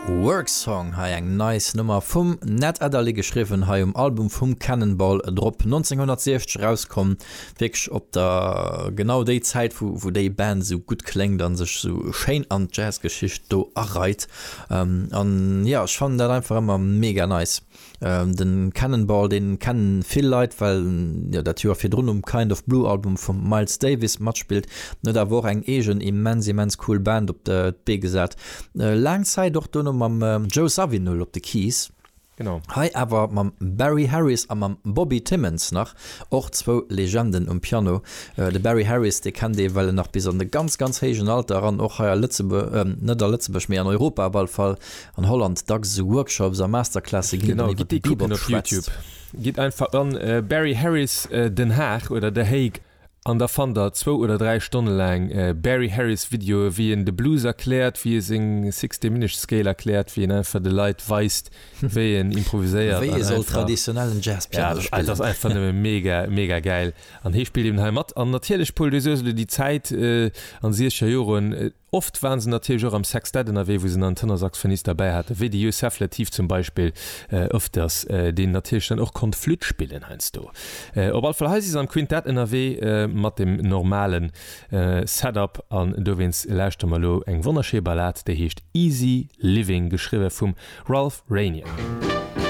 Work Song, hei eng nice Nummer vum Ned Adderley geschriwwen, hei um Album vum Cannonball drop, 1960 erauskomm, wierklech op der genau déi Zäit wou wou déi Band esou gutt kléngt an sech esou schéin an d'Jazzgeschicht do areit an jo ech fannen dat einfach ëmmer mega nice. Den Cannonball, deen kennen vill Leit, well en jo dat Joer virdrun um Kind of Blue Album vum Miles Davis matspillt. En huet awer och eng eegen immens immens cool Band op d'Bee gesat. Laang Zäit och dono mam Joe Zawinul op de Keys. Genau. Hei awer mam Barry Harris a mam Bobby Timmons nach, och zwou Legenden um Piano. De Barry Harris, dee kennt ee well en nach bis an de ganz ganz héijen Alter eran och hei a Lëtzebuerg, net a Lëtzebuerg, mee an Europa op alle Fall, An Holland dacks esou Workshops a Masterclasse ginn, Genau, gitt déi kucken op Youtube. Gitt einfach an Barry Harris Den Haag oder The Hague an da fannt der zwou oder 3 Stonne laang Barry Harris Videoe wéi en de Blues erkläert, wéi e seng Six Diminished Scale erkläert, wéi en einfach de Leit weist wéi en improviséiert. Wéi ee soll traditionellen Jazzpiano spillen. Ja, dat ass einfach nëmme mega, mega gäil. An hee spillt eben hei mat. An natierlech, Paul, du soos elo déi Zäit an de siechzeger Joren, Oft waren se natierlech och am Sextett ënnerwee, wou se dann en Tenorsaxophonist derbäi haten, wéi de Yusef Lateef zum Beispill ëfters, deen natierlech dann och konnt Flütt spillen heiansdo. Op all Fall, hei si se am Quintett ënnerwee mat dem normale Setup an dowéinst lauschtere mer elo eng wonnerschéi Ballad, déi heescht Easy Living, geschriwwe vum Ralph Ranier.